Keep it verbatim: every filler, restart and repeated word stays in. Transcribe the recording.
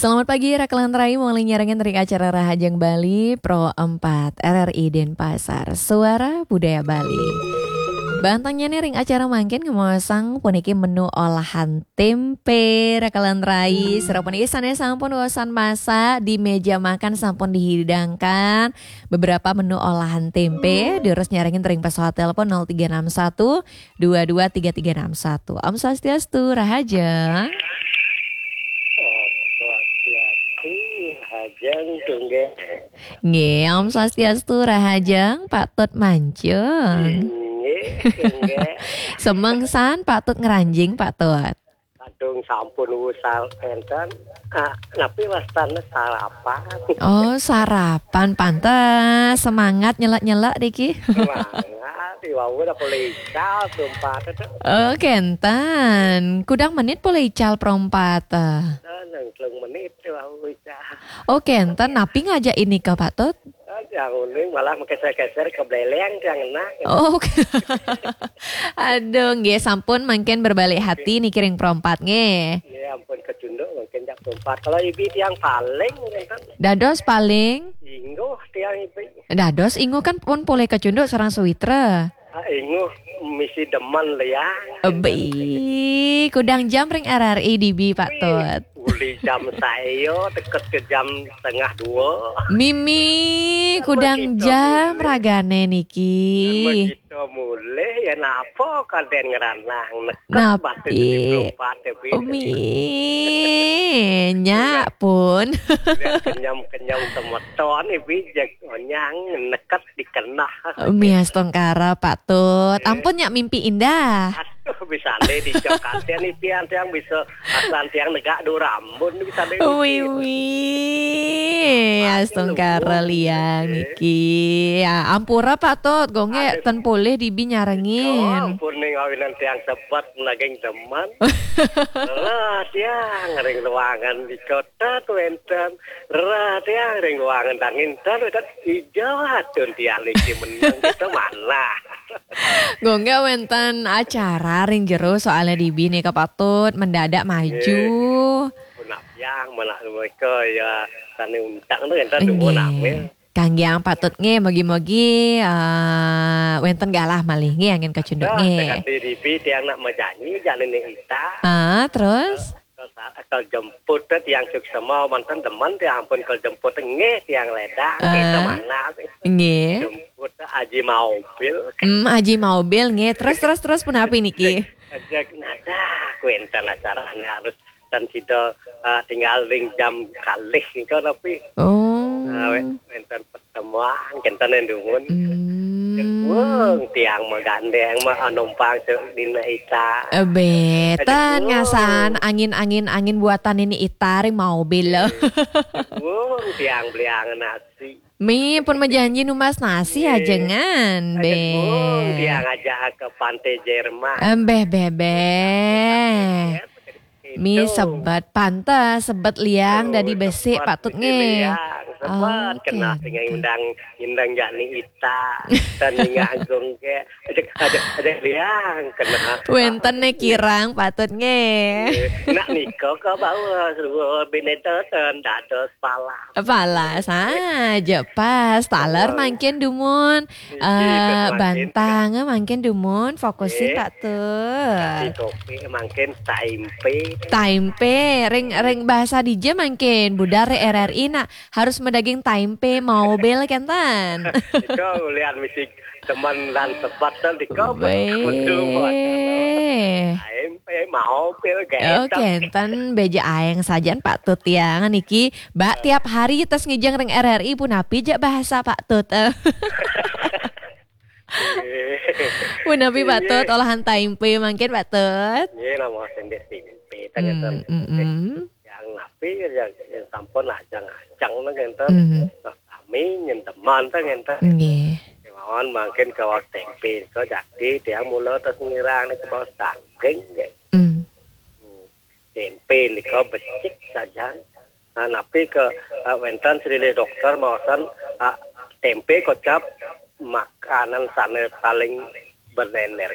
Selamat pagi, Raka lan Rai, malih nyarengin ring acara Rahajeng Bali, Pro empat, R R I Denpasar, Suara Budaya Bali. Bantengnya nih ring acara mangkin ngemaosang puniki menu olahan tempe, Raka lan Rai. Sira puniki sané sampun usan masak, di meja makan sampun dihidangkan beberapa menu olahan tempe, durus nyarengin ring pesawat telepon nol tiga enam satu, dua dua tiga tiga enam satu. Om Swastiastu, Rahajeng. Om Swastiastu, Rahajeng, Tungge. Nggih, Om Swastiastu, Rahajeng, Pak Tut Mancung. Nggih, Tungge. Semeng san, Pak Tut ngranjing, Pak Tut. Kadung sampun wusal enten. Ah, napi wastane sarapan? Oh, sarapan, pantes semangat nyelek-nyelek niki. Semangat, iwau udah poleh ical, Pro empat itu. Oh, kenten. Kudang menit poleh ical, Pro empat? Nang telung menit iwau ical. Oh, kenten. Napi ngajak ini ke Pak Tut? Ah, yang uning malah mengkeser-keser ke beleleng, yang enak. Oh, oke. Aduh, nggih, sampun mangkin berbalik hati niki ring Pro empat, nggih. Nggih, ampun kecunduk mangkin jak Pro empat. Kalau ibi tiang paling, kan? Dados paling? Ingguh tiang ibi. Dados ingguh kan pun poleh kecunduk sareng sawitra. Ah, ingguh misi demen liang. Ebi, kudang jam ring R R I dibi, Pak Tut? Uli jam sayo, deket ke jam setengah dua. Mimi, kudang jam ragane niki. Begitu mulih, ya napa kaden ngeranang, neket batin di Pro empat, ya, Bi. Umi, nyak pun. Kenyam-kenyam semeton, ya, Bi, jeg onyang neket dikenah. Umi astungkara, Pak Tut. Ampun, nyak mimpi indah. Aduh, bisa deh dicok kasihan nih, tiang, tiang bisa asal tiang negak dua rambun, bisa deh. Wi, wi. Astungkara liang niki. Ya, ampura, Pak Tut, gongge ten poleh dibi nyarengin. Oh, ampun, ning awinan tiang sebet naging demen. Lah, tiang ring ruangan di kota tuh enten. Rah, tiang ring ruangan dangin ten, wénten ijo atun tiang niki meneng kita manah. Gongge wénten acara ring jero soalnya dibi nika Pak Tut mendadak maju. Nggih. Punah tiang, manah mereka ya sane untang tu enten. Nggih. Dumun ambil. Kanggiang Pak Tut nggih, mogi-mogi, eh, wénten galah malih nggih angin kacunduk nggih. Nah, tekan di dibi tiang nak majanji, jani ni ita. Ah, terus? Kal jemput teh tiang suksema, manten demen tiang ampun kal jemput nggih tiang ledang, ah, kita manah. Nggih. Jemput teh Aji Maubil. Hmm, Aji Maubil nggih. Terus, terus, terus punapi niki? Ajak nada kuenten acarane harus dan sida, ah, tinggal ring jam kalih nika tapi. Oh. Ah, wé-, wénten temuan kenten dumun. Hmm. Wong tiang magandeng mah numpang dina ita. Ebe, ten ngasan angin-angin angin buatan ini ita ring Maubil. Wong tiang beliang nasi. Mi pun majanji numbas nasi ajengan, be. Wong tiang ajak ke Pantai Jerman. Embeh, bebeh. Mi sebet pantes, sebet liang dadi besik, Pak Tut nggih. Liang, sebet kena tinggal undang, undang jani ita, dan ingat agung ke, ada, ada, ada liang kena. Wénten né kirang, Pak Tut nggih. Nak nika ke bawah, bineta ten dados pala. Pala saja pas, taler mangkin dumun. Eh, bantang mangkin dumun, fokusin Pak Tut. Kopi mangkin taimpe. Taimpe, ring, ring bahasa dija mangkin, budar R R I nak harus madaging taimpe, Maubil kenten. Nika ulian misi temen lan sebet ten nika. Baik. Taimpe, Maubil kenten. Oh, kenten, beja aeng sajan Pak Tut tiang niki. Mbak, tiap hari tes ngijeng ring R R I punapi ja bahasa Pak Tut. Punapi Pak Tut, olahan taimpe mangkin Pak Tut? Nggih, nama sendek taimpe, tanya. Hmm, mm, mm. Yang napi, yang, yang sampun ajang-ajang nang enten. Mhm. Nah, kami nyenteman tang enten. Nggih. Kemauan mangkin ke tempe, ke jadi tiang mula tes ngirang ni ke bawah daging, nggih. Hmm. Hmm. Tempe nika becik sajan. Nah, napi ke, ah, wénten silih dokter maosan, ah, tempe kocap makanan sané paling berenergi.